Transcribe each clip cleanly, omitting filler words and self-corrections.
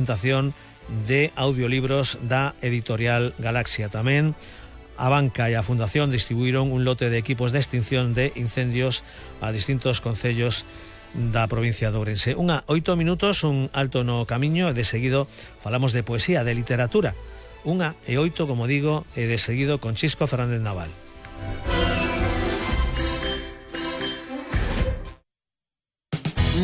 presentación de audiolibros da editorial Galaxia. Tamén a banca e a fundación distribuíron un lote de equipos de extinción de incendios a distintos concellos da provincia de Ourense. 8 minutos, un alto no camiño, e de seguido falamos de poesía, de literatura. 1:08, como digo, e de seguido con Chisco Fernández Naval.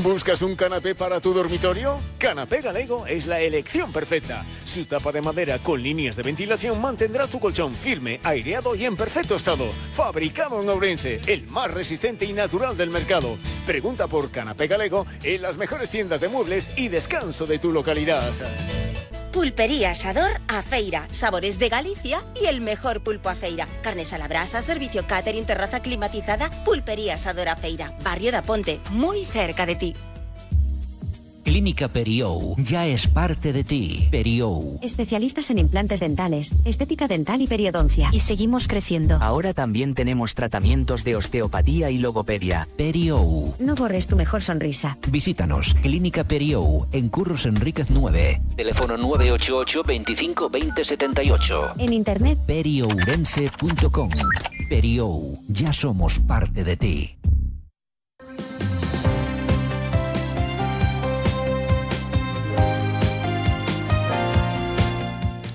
¿Buscas un canapé para tu dormitorio? Canapé Galego es la elección perfecta. Su tapa de madera con líneas de ventilación mantendrá tu colchón firme, aireado y en perfecto estado. Fabricado en Ourense, el más resistente y natural del mercado. Pregunta por Canapé Galego en las mejores tiendas de muebles y descanso de tu localidad. Pulpería Asador A Feira, sabores de Galicia y el mejor pulpo a feira. Carnes a la brasa, servicio catering, terraza climatizada. Pulpería Asador A Feira, barrio da Ponte, muy cerca de ti. Clínica Periou ya es parte de ti. Periou. Especialistas en implantes dentales, estética dental y periodoncia. Y seguimos creciendo. Ahora también tenemos tratamientos de osteopatía y logopedia. Periou. No borres tu mejor sonrisa. Visítanos. Clínica Periou, en Curros Enríquez 9. Teléfono 988 25 20 78. En internet periourense.com. Periou, ya somos parte de ti.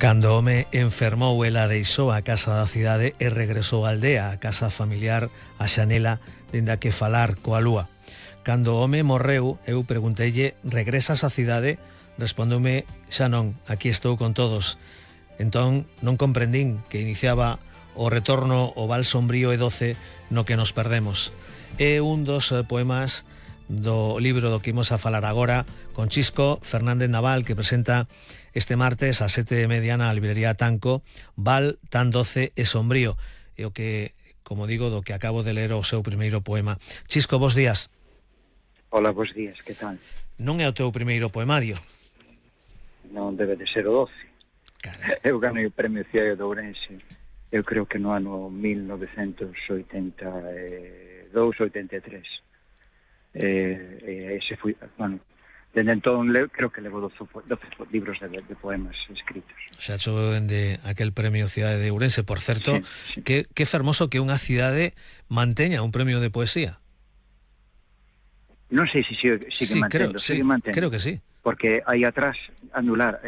Cando o home enfermou, ela deixou a casa da cidade e regresou á aldea, a casa familiar, a xanela, dende a que falar coa lúa. Cando o home morreu, eu pregunteille, regresas á cidade? Respondeume, xa non, aquí estou con todos. Entón, non comprendín que iniciaba o retorno ao val sombrío e doce no que nos perdemos. É un dos poemas do libro do que imos a falar agora con Chisco Fernández Naval, que presenta este martes a 7:30 na librería Tanco, Val tan doce e sombrío, e o que, como digo, do que acabo de ler o seu primeiro poema. Chisco, bos días. Hola, bos días, que tal? Non é o teu primeiro poemario? Non debe de ser o 12. Carai. Eu ganei o premio Ciaio de Ourense, eu creo que no ano 1982-83. Ese foi, bueno, dende entón creo que levo 12 libros de poemas escritos. Xa choveu dende aquel premio Cidade de Ourense. Por certo, sí. que fermoso que unha cidade manteña un premio de poesía. Non sei se sigue mantendo, sigue mantendo. Creo que sí. Porque aí atrás anular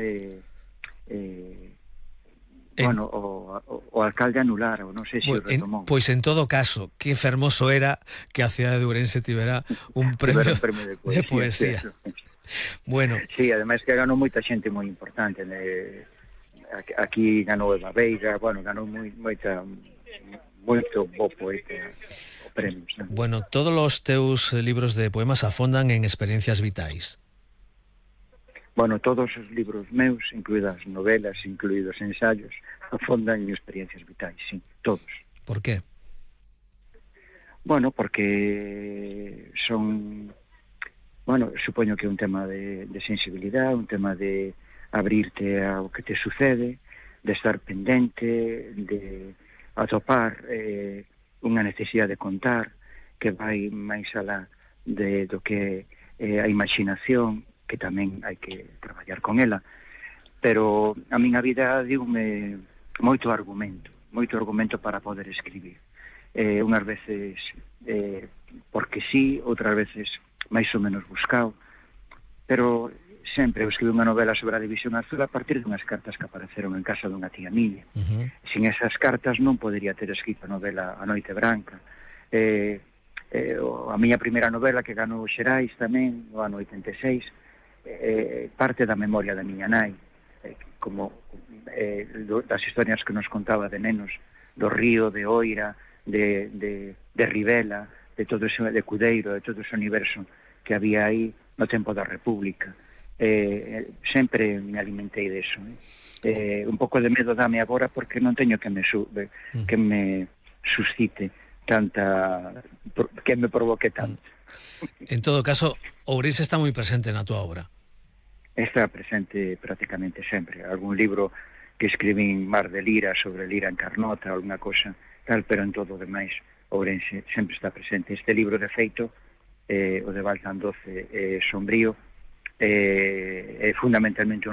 bueno, o alcalde anular, ou non sei se o retomou. Pois en todo caso, que fermoso era que a cidade de Ourense tivera un premio de poesía. Bueno. Sí, ademais que ganou moita xente moi importante. Aquí ganou Eva Veiga, bueno, ganou moito bo poeta o premio. Bueno, todos os teus libros de poemas afondan en experiencias vitais. Bueno, todos os libros meus, incluídas novelas, incluídos ensayos, afondan en experiencias vitais, sí, todos. Por qué? Bueno, porque son... Bueno, supoño que é un tema de sensibilidade, un tema de abrirte ao que te sucede, de estar pendente, de atopar unha necesidade de contar que vai máis alá do que a imaginación, que tamén hai que traballar con ela, pero a miña vida diume moito argumento para poder escribir. Unhas veces porque sí, outras veces máis ou menos buscado, pero sempre eu escribí unha novela sobre a División Azul a partir dunhas cartas que apareceron en casa dunha tía miña. Sin esas cartas non podería ter escrito a novela A Noite Branca. A miña primeira novela que ganou Xerais tamén, no ano 86, parte da memoria da miña nai, como das historias que nos contaba de nenos, do río, de Oira, de Rivela, de todo ese, de Cudeiro, de todo ese universo que había aí no tempo da República. Sempre me alimentei deso. Un pouco de medo dame agora porque non teño que me suscite tanta, que me provoque tanto. En todo caso, Ourense está moi presente na túa obra. Está presente prácticamente sempre. Algún libro que escribín Mar de Lira, sobre Lira en Carnota, alguna cosa tal, pero en todo o demais Ourense sempre está presente. Este libro, de feito, o de Val tan doce sombrío, é fundamentalmente